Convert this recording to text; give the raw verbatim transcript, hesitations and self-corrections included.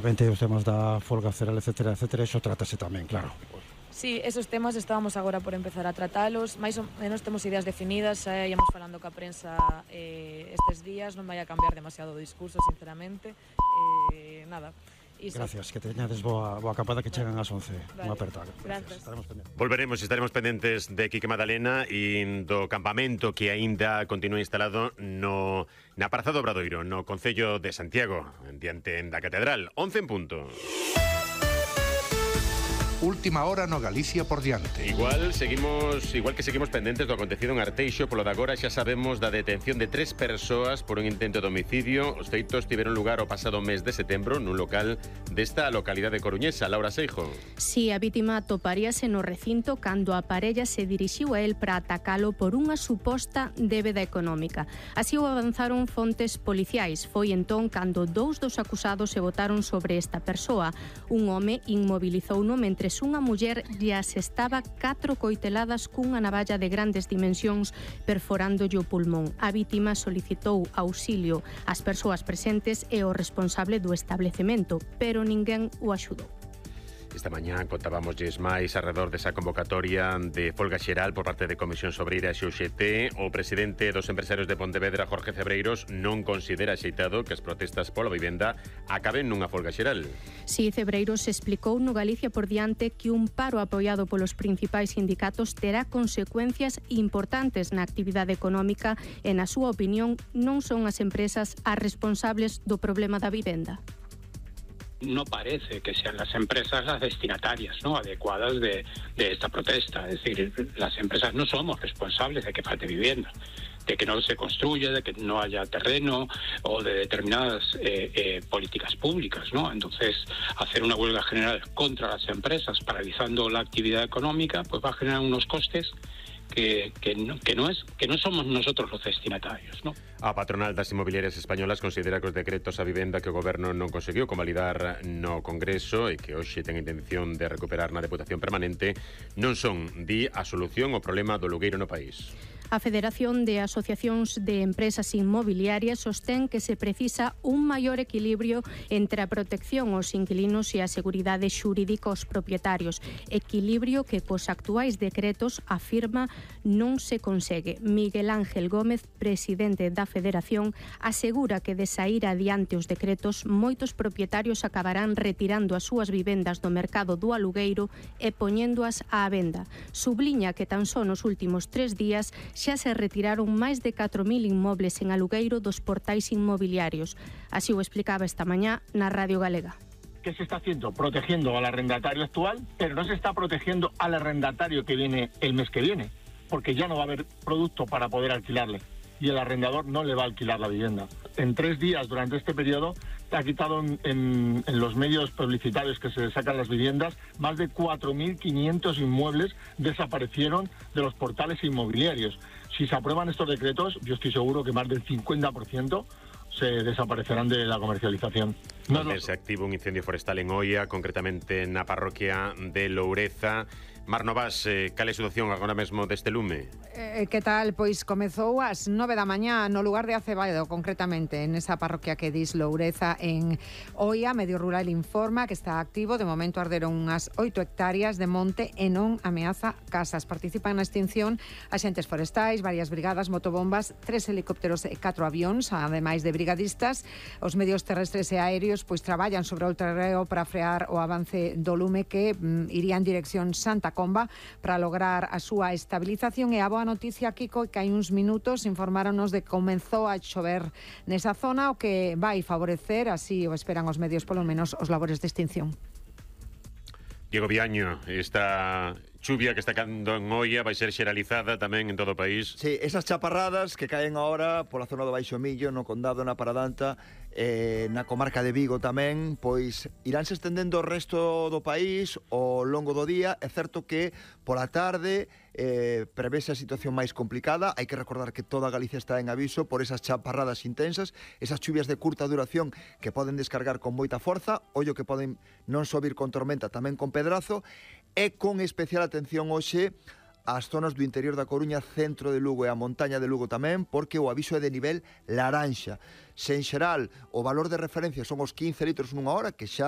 lógicamente os temas da folga cereal, etcétera, etcétera, iso trátase tamén, claro. Sí, esos temas estábamos agora por empezar a tratalos, máis ou menos temos ideas definidas, xa íamos falando ca prensa eh, estes días, non vai a cambiar demasiado o discurso, sinceramente, eh, nada. Iso. Gracias, que teñades boa, boa acampada que chegan ás once. Vale. Unha aperta. Gracias. Estaremos pendentes. Volveremos, estaremos pendentes de Quique Madalena e do campamento que aínda continúa instalado no na Praza do Obradoiro, no Concello de Santiago, diante da Catedral. once en punto. Última hora no Galicia por diante. Igual seguimos, igual que seguimos pendentes do acontecido en Arteixo, polo de agora xa sabemos da detención de tres persoas por un intento de homicidio. Os feitos tiveron lugar o pasado mes de setembro nun local desta localidade coruñesa. Laura Seijo. Si, a vítima toparíase no recinto cando a parella se dirixiu a el para atacalo por unha suposta débeda económica. Así o avanzaron fontes policiais. Foi entón cando dous dos acusados se botaron sobre esta persoa. Un home inmobilizouno mentre unha muller lle asestaba catro coiteladas cunha navalla de grandes dimensións perforándolle o pulmón. A vítima solicitou auxilio ás persoas presentes e o responsable do establecemento, pero ninguén o axudou. Esta mañá contábamosles máis alrededor desa convocatoria de folga xeral por parte de Comisións Obreiras e U G T. O presidente dos empresarios de Pontevedra, Jorge Cebreiros, non considera axeitado que as protestas pola vivenda acaben nunha folga xeral. Si, Cebreiros explicou no Galicia por diante que un paro apoiado polos principais sindicatos terá consecuencias importantes na actividade económica e, na súa opinión, non son as empresas as responsables do problema da vivenda. No parece que sean las empresas las destinatarias, ¿no?, adecuadas de, de esta protesta. Es decir, las empresas no somos responsables de que falte vivienda, de que no se construya, de que no haya terreno o de determinadas eh, eh, políticas públicas, ¿no? Entonces, hacer una huelga general contra las empresas, paralizando la actividad económica, pues va a generar unos costes Que, que, no, que, no es, que no somos nosotros los destinatarios, ¿no? A patronal das inmobiliarias españolas considera que os decretos a vivenda que o goberno non conseguiu convalidar no Congreso e que hoxe ten intención de recuperar na Deputación Permanente non son, di, a solución ao problema do alugueiro no país. A Federación de Asociacións de Empresas Inmobiliarias sostén que se precisa un maior equilibrio entre a protección aos inquilinos e a seguridade xurídica aos propietarios. Equilibrio que cos actuais decretos, afirma, non se consegue. Miguel Ángel Gómez, presidente da Federación, asegura que de saír adiante os decretos, moitos propietarios acabarán retirando as súas vivendas do mercado do alugueiro e poñéndoas á venda. Subliña que tan só nos últimos tres días xa se retiraron máis de catro mil inmobles en alugueiro dos portais inmobiliarios. Así o explicaba esta mañá na Radio Galega. ¿Qué se está haciendo? Protegiendo al arrendatario actual, pero no se está protegiendo al arrendatario que viene el mes que viene, porque ya no va a haber producto para poder alquilarle y el arrendador no le va a alquilar la vivienda. En tres días durante este periodo ha quitado en, en, en los medios publicitarios que se sacan las viviendas, más de cuatro mil quinientos inmuebles desaparecieron de los portales inmobiliarios. Si se aprueban estos decretos, yo estoy seguro que más del cincuenta por ciento se desaparecerán de la comercialización. No, no. Se activa un incendio forestal en Oia, concretamente na parroquia de Loureza. Mar Novas, eh, cal é a situación agora mesmo deste lume? Eh, que tal? Pois comezou ás nove da mañá no lugar de Acevedo, concretamente, en esa parroquia que dis Loureza en Oia. Medio Rural informa que está activo. De momento arderon unhas oito hectáreas de monte e non ameaza casas. Participan na extinción axentes forestais, varias brigadas, motobombas, tres helicópteros e catro avións, ademais de brigadistas. Os medios terrestres e aéreos pois traballan sobre o terreo para frear o avance do lume que mm, iría en dirección Santa Comba para lograr a súa estabilización. E a boa noticia, Kiko, que hai uns minutos informáronos de que comenzou a chover nesa zona, o que vai favorecer, así o esperan os medios, polo menos, os labores de extinción. Diego Viaño, esta chuvia que está cando en Oia vai ser xeralizada tamén en todo o país. Sí, esas chaparradas que caen agora pola zona do Baixo Millo, no Condado, na Paradanta, eh, na comarca de Vigo tamén, pois iránse estendendo o resto do país ao longo do día. É certo que pola tarde eh, prevese a situación máis complicada. Hai que recordar que toda Galicia está en aviso por esas chaparradas intensas, esas chuvias de curta duración que poden descargar con moita forza, ollo que poden non só vir con tormenta, tamén con pedrazo, e con especial atención hoxe ás zonas do interior da Coruña, centro de Lugo e a montaña de Lugo tamén, porque o aviso é de nivel laranxa. Se en xeral o valor de referencia son os quince litros nunha hora, que xa